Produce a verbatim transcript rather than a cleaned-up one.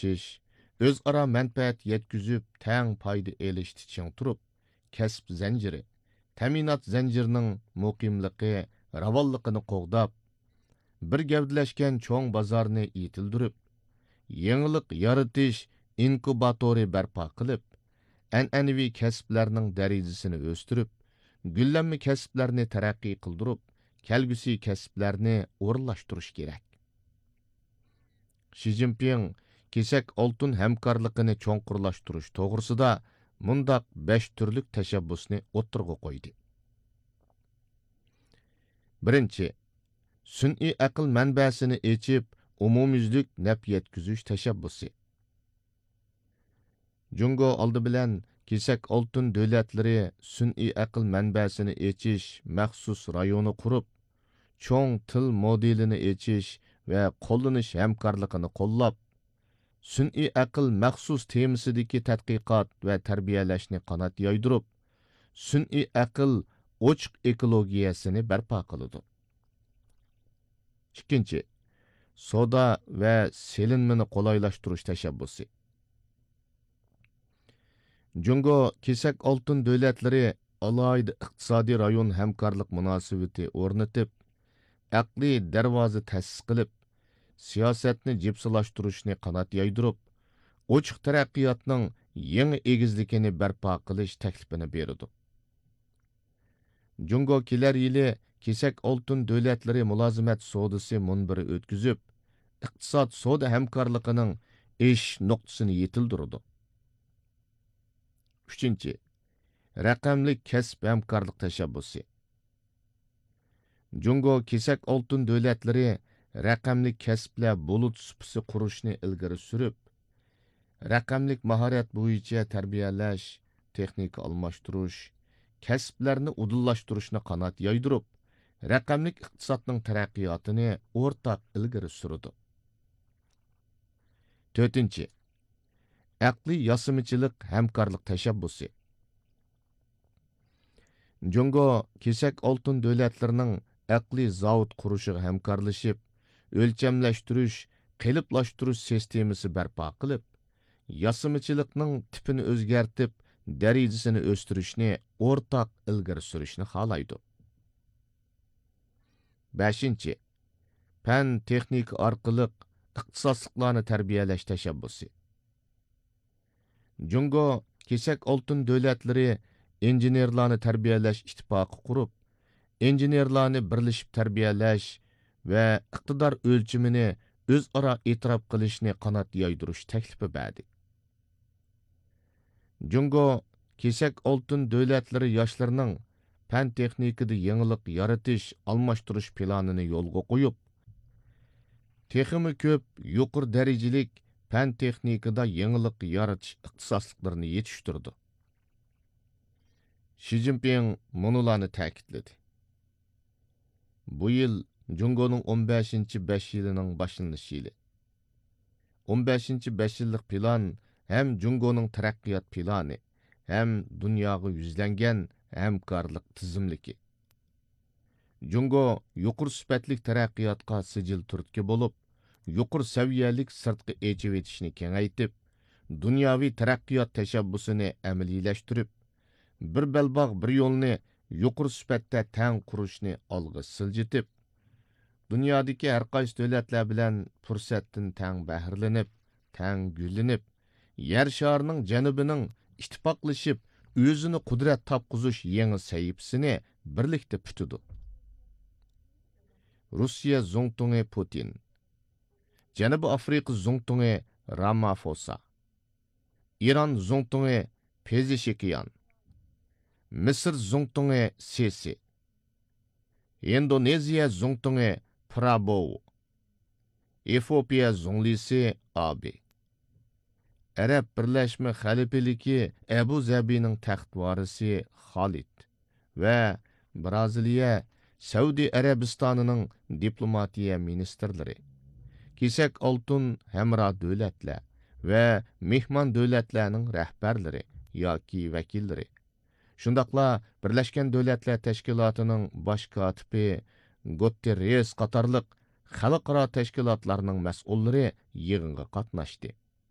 ئىشلىتىش، ئۆزئارا مەنپەئەت يەتكۈزۈپ، تەڭ پايدا ئېلىشتا چىڭ تۇرۇپ، كەسىپ زەنجىرى، تەمىنات زەنجىرىنىڭ مۇقىملىقى، راۋانلىقىنى قوغداپ، بىر گەۋدىلەشكەن چوڭ بازارنى يېتىلدۈرۈپ، يېڭىلىق يارىتىش ئىنكۇباتورى بەرپا قىلىپ، ئەنئەنىۋى كەسىپلەرنىڭ دەرىجىسىنى ئۆستۈرۈپ، گۈللەنمە كەسىپلەرنى تەرەققىي قىلدۇرۇپ، كەلگۈسى كەسىپلەرنى ئورۇنلاشتۇرۇش كېرەك. شى جىنپىڭ كېسەك ئالتۇن ھەمكارلىقىنى چوڭقۇرلاشتۇرۇش توغرىسىدا مۇنداق بەش تۈرلۈك تەشەببۇسنى ئوتتۇرىغا قويدى. بىرىنچى، سۈنئىي ئەقىل مەنبەسىنى ئېچىپ، ئومۇميۈزلۈك نەپ يەتكۈزۈش تەشەببۇسى. جۇڭگو ئالدى بىلەن كېسەك ئالتۇن دۆلەتلىرى سۈنئىي ئەقىل مەنبەسىنى ئېچىش مەخسۇس رايونى قۇرۇپ، چوڭ تىل مودېلىنى ئېچىش ۋە قوللىنىش ھەمكارلىقىنى قوللاپ، سۈنئىي ئەقىل مەخسۇس تېمىسىدىكى تەتقىقات ۋە تەربىيەلەشنى قانات يايدۇرۇپ، سۈنئىي ئەقىل ئوچۇق ئېكولوگىيەسىنى بەرپا قىلىدۇ. ئىككىنچى، سودا ۋە سېلىنمىنى قولايلاشتۇرۇش تەشەببۇسى. جۇڭگو كېسەك ئالتۇن دۆلەتلىرى ئالاھىدە ئىقتىسادىي رايون ھەمكارلىق مۇناسىۋىتى ئورنىتىپ، ئەقلىي دەرۋازا تەسىس قىلىپ، سىياسەتنى جىپسىلاشتۇرۇشنى قانات يايدۇرۇپ، ئوچۇق تەرەققىياتنىڭ يېڭى ئېگىزلىكىنى بەرپا قىلىش تەكلىپىنى بېرىدۇ. جۇڭگو كېلەر يىلى كېسەك ئالتۇن دۆلەتلىرى مۇلازىمەت سودىسى مۇنبىرى ئۆتكۈزۈپ، ئىقتىساد سودا ھەمكارلىقىنىڭ ئېشىش نۇقتىسىنى يېتىلدۈرىدۇ. ئۈچىنچى، رەقەملىك كەسىپ ھەمكارلىق تەشەببۇسى. جۇڭگو كېسەك ئالتۇن دۆلەتلىرى رەقەملىك كەسىپلەر بۇلۇت سۇپىسى قۇرۇشنى ئىلگىرى سۈرۈپ، رەقەملىك ماھارەت بويىچە تەربىيەلەش، تېخنىكا ئالماشتۇرۇش، كەسىپلەرنى ئۇدۇللاشتۇرۇشنى قانات يايدۇرۇپ، رەقەملىك ئىقتىسادنىڭ تەرەققىياتىنى ئورتاق ئىلگىرى سۈرىدۇ. تۆتىنچى، ئەقلىي ياسىمىچىلىق ھەمكارلىق تەشەببۇسى. جۇڭگو كېسەك ئالتۇن دۆلەتلىرىنىڭ ئەقلىي زاۋۇت قۇرۇشىغا ھەمكارلىشىپ، ئۆلچەملەشتۈرۈش، قېلىپلاشتۇرۇش سىستېمىسى بەرپا قىلىپ، ياسىمىچىلىقنىڭ تىپىنى ئۆزگەرتىپ، دەرىجىسىنى ئۆستۈرۈشنى ئورتاق ئىلگىرى سۈرۈشنى خالايدۇ. بەشىنچى، پەن تېخنىكا ئارقىلىق ئىختىساسلىقلارنى تەربىيەلەش تەشەببۇسى. جۇڭگو كېسەك ئالتۇن دۆلەتلىرى ئىنژېنېرلارنى تەربىيەلەش ئىتتىپاقى قۇرۇپ، ئىنژېنېرلارنى بىرلىشىپ تەربىيەلەش ۋە ئىقتىدار ئۆلچىمىنى ئۆزئارا ئېتىراپ قىلىشنى قانات يايدۇرۇش تەكلىپى بەردى. جۇڭگو كېسەك ئالتۇن دۆلەتلىرى ياشلىرىنىڭ پەن تېخنىكىدا يېڭىلىق يارىتىش، ئالماشتۇرۇش پىلانىنى يولغا قويۇپ، تېخىمۇ كۆپ يۇقىرى دەرىجىلىك پەن تېخنىكىدا يېڭىلىق يارىتىش ئىختىساسلىقلىرىنى يېتىشتۈرىدۇ. شى جىنپىڭ مۇنۇلارنى تەكىتلىدى: بۇ يىل جۇڭگونىڭ ئون بەشىنچى بەش يىلىنىڭ باشلىنىش يىلى. ئون بەشىنچى بەش يىللىق پىلان ھەم جۇڭگونىڭ تەرەققىيات پىلانى، ھەم دۇنياغا يۈزلەنگەن ھەمكارلىق تىزىملىكى. جۇڭگو يۇقىرى سۈپەتلىك تەرەققىياتقا سىجىل تۈرتكە بولۇپ، يۇقىرى سەۋىيەلىك سىرتقى ئېچىۋېتىشنى كېڭەيتىپ، دۇنياۋى تەرەققىيات تەشەببۇسىنى ئەمەلىيلەشتۈرۈپ، بىر بەلباغ، بىر يولنى يۇقىرى سۈپەتتە تەڭ قۇرۇشنى ئالغا سىلجىتىپ، دۇنيادىكى ھەرقايسى دۆلەتلەر بىلەن پۇرسەتتىن تەڭ بەھرىلىنىپ، تەڭ گۈللىنىپ، يەر شارىنىڭ جەنۇبىنىڭ ئىتتىپاقلىشىپ، ئۆزىنى قۇدرەت تاپقۇزۇش يېڭى سەھىپىسىنى بىرلىكتە پۈتىدۇ. روسىيە زۇڭتۇڭى پۇتىن، جەنۇبىي ئافرىقا زۇڭتۇڭى رامافوسا، ئىران زۇڭتۇڭى پېزېشكىيان، مىسىر زۇڭتۇڭى سىسى، ئىندونېزىيە زۇڭتۇڭى پرابوۋو، ئېفىئوپىيە زۇڭلىسى ئابى، ئەرەب بىرلەشمە خەلىپىلىكى ئەبۇ زەبىنىڭ تەخت ۋارىسى خالىد ۋە برازىلىيە، سەئۇدى ئەرەبىستانىنىڭ دىپلوماتىيە مىنىستىرلىرى، كېسەك ئالتۇن ھەمراھ دۆلەتلەر ۋە مېھمان دۆلەتلەرنىڭ رەھبەرلىرى ياكى ۋەكىللىرى، شۇنداقلا بىرلەشكەن دۆلەتلەر تەشكىلاتىنىڭ باش كاتىپى گۇتېررېس قاتارلىق خەلقئارا تەشكىلاتلارنىڭ مەسئۇللىرى يىغىنغا قاتناشتى.